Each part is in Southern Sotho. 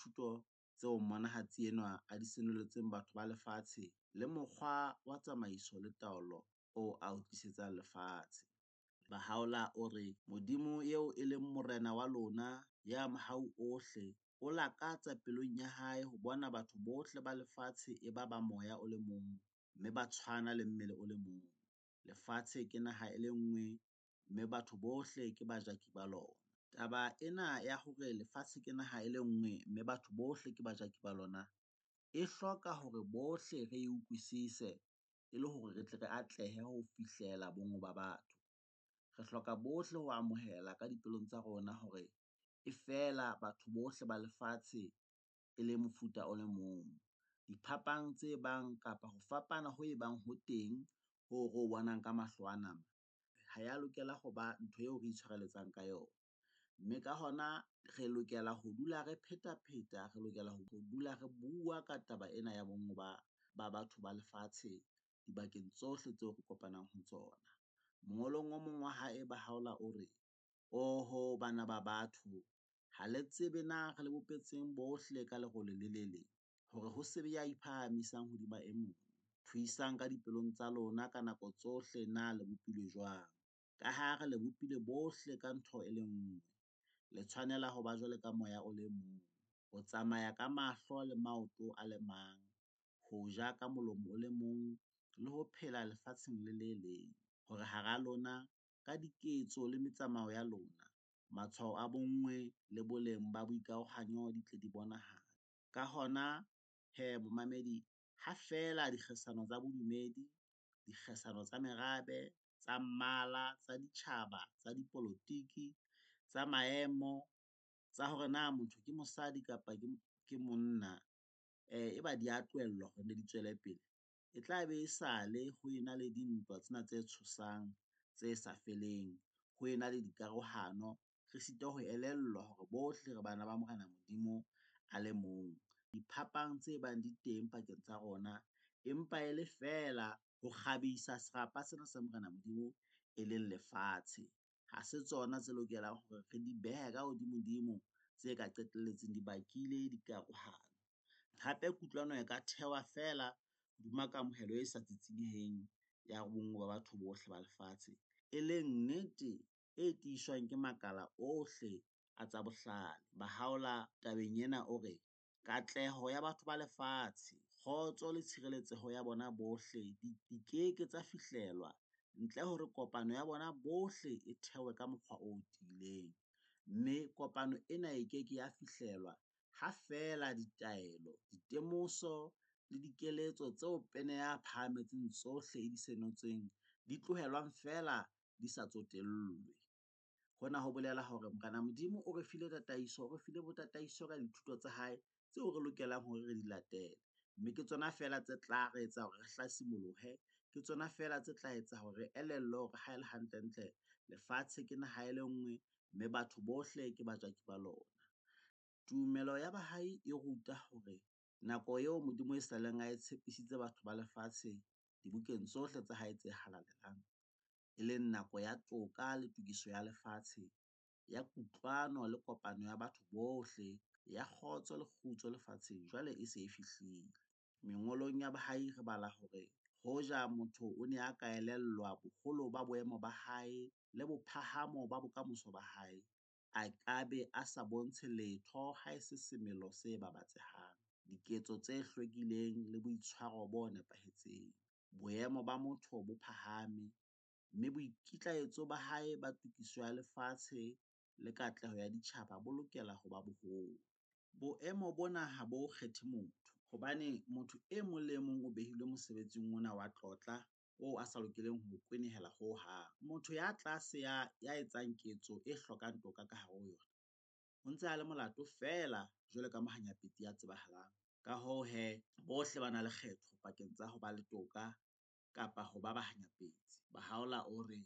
dithuto tseo mmonahatsi enwa a di senoletseng batho ba lefatshe le mokgwa wa tsamaiso le taolo oo a o tlisetsang lefatshe. Baha'u'llah o re, Modimo eo e leng Morena wa lona, Ya Mohau Ohle, O lakatsa pelong ya Hae ho bona batho bohle ba lefatshe e ba ba moya o le mong mme ba tshwana le mmele o le mong. Lefatshe ke naha e le nngwe mme batho bohle ke bajaki ba lona. Taba ena ya hore lefatshe ke naha e le nngwe mme batho bohle ke bajaki ba lona, e hloka hore bohle re e utlwisise e le hore re tle re atlehe ho fihlela bonngwe ba batho. Re hloka bohle ho amohela ka dipelong tsa rona hore efela batho bohle ba lefatshe e le mofuta o le mong. Diphapang tse bang kapa ho fapana ho ebang ho teng hoo re ho bonang ka mahlo a nama, ha ya lokela ho ba ntho eo re itshwareletsang ka yona. Mme ka hona re lokela ho dula re phetapheta, re lokela ho dula re bua ka taba ena ya bonngwe ba batho ba lefatshe dibakeng tsohle tseo re kopanang ho tsona. Mongolong o mong wa hae Baha'u'llah o re, Oho bana ba batho! Ha le tsebe na re le bopetseng bohle ka lerole le le leng, hore ho se be ya iphahamisang hodima e mong. Thuisang ka dipelong tsa lona ka nako tsohle na le bopilwe jwang. Ka ha re le bopile bohle ka ntho e le nngwe, le tshwanela ho ba jwalo ka moya o le mong, ho tsamaya ka mahlo le maoto a le mang, ho ja ka molomo o le mong le ho phela lefatsheng le le leng, hore hara lona, ka diketso le metsamao ya lona, matshwao a bonngwe le boleng ba boikarohanyo di tle di bonahale. Ka hona, he momamedi, ha feela dikgesano tsa bodumedi, dikgesano tsa merabe, tsa mmala, tsa ditjhaba, tsa dipolotiki, tsa maemo, tsa hore na motho ke mosadi kapa ke monna, eba di a tlohellwa hore di tswele pele, e tla be e sale ho ena le dintwa tsena tse tshosang, tse sa feleng, ho ena le dikarohano, re sitwa ho elellwa hore bohle re bana ba Morena Modimo a le mong. Diphapang tse bang di teng pakeng tsa rona empa e le feela ho kgabisa serapa sena sa Morena Modimo e leng lefatshe. Ha se tsona tse lokelang hore re di behe ka hodimodimo tse ka qetelletseng di bakile dikarohano. Hape kutlwano e ka thewa feela hodima kamohelo e sa tsitsinyeheng ya bonngwe ba batho bohle ba lefatshe, e leng nnete e tiiswang ke makala ohle a tsa bohlale. Baha'u'llah tabeng ena o re, Katleho ya batho ba lefatshe, kgotso le tshireletseho ya bona bohle di ke ke tsa fihlellwa ntle hore kopano ya bona bohle e thewe ka mokgwa o tiileng, mme kopano ena e ke ke ya fihlellwa ha feela ditaelo, ditemoso le dikeletso tseo Pene ya phahametseng tsohle e di senotseng di tlohelwang feela di sa tsotellwe. Hona ho bolela hore Morena Modimo o re file tataiso, o re file botataiso ka dithuto tsa hae tseo re lokelang hore re di latele. Mme ke tsona feela tse tla re etsa hore re hlasimolohe, ke tsona feela tse tla etsa hore re elellwe hore ha e le hantlentle lefatshe ke naha e le nngwe mme batho bohle ke bajaki ba lona. Tumelo ya Bahai e ruta hore nako eo Modimo e saleng a e tshepisitse batho ba lefatshe dibukeng tsohle tsa hae tse halalelang, e leng nako ya toka le tokiso ya lefatshe, ya kutlwano le kopano ya batho bohle, ya kgotso le kgutso lefatsheng jwale e se e fihlile. Mengolong ya Bahai re bala hore hoja motho o ne a ka elellwa boholo ba boemo ba hae le bophahamo ba bokamoso ba hae, a ka be a sa bontshe letho haese semelo se babatsehang, diketso tse hlwekileng le boitshwaro bo nepahetseng. Boemo ba motho bo phahame, mme boikitlaetso ba hae ba tokiso ya lefatshe le katleho ya ditjhaba bo lokela ho ba boholo. Boemo bona ha bo kgethe motho, hobane motho e mong le e mong o behilwe mosebetsing ona wa tlotla oo a sa lokeleng ho o kwenehela ho hang. Motho ya tlase ya etsang ketso e hlokang toka ka hare ho yona, o ntse a le molato feela jwalo ka mohanyapetsi ya tsebahalang. Ka hoo he, bohle ba na le kgetho pakeng tsa ho ba le toka kapa ho ba bahanyapetsi. Baha'u'llah o re,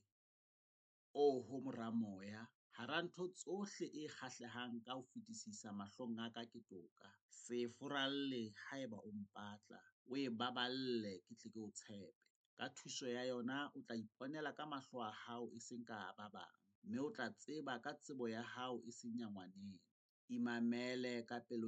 Oho mora moya, hara ntho tsohle e kgahlehang ka ho fetisisa mahlong a ka ke toka. Se e furalle haeba o mpatla, o e baballe ke tle ke o tshepe. Ka thuso ya yona o tla iponela ka mahlo a hao e seng ka a ba bang, mme o tla tseba ka tsebo ya hao e seng ya ngwaneno. Imamele ka pelong.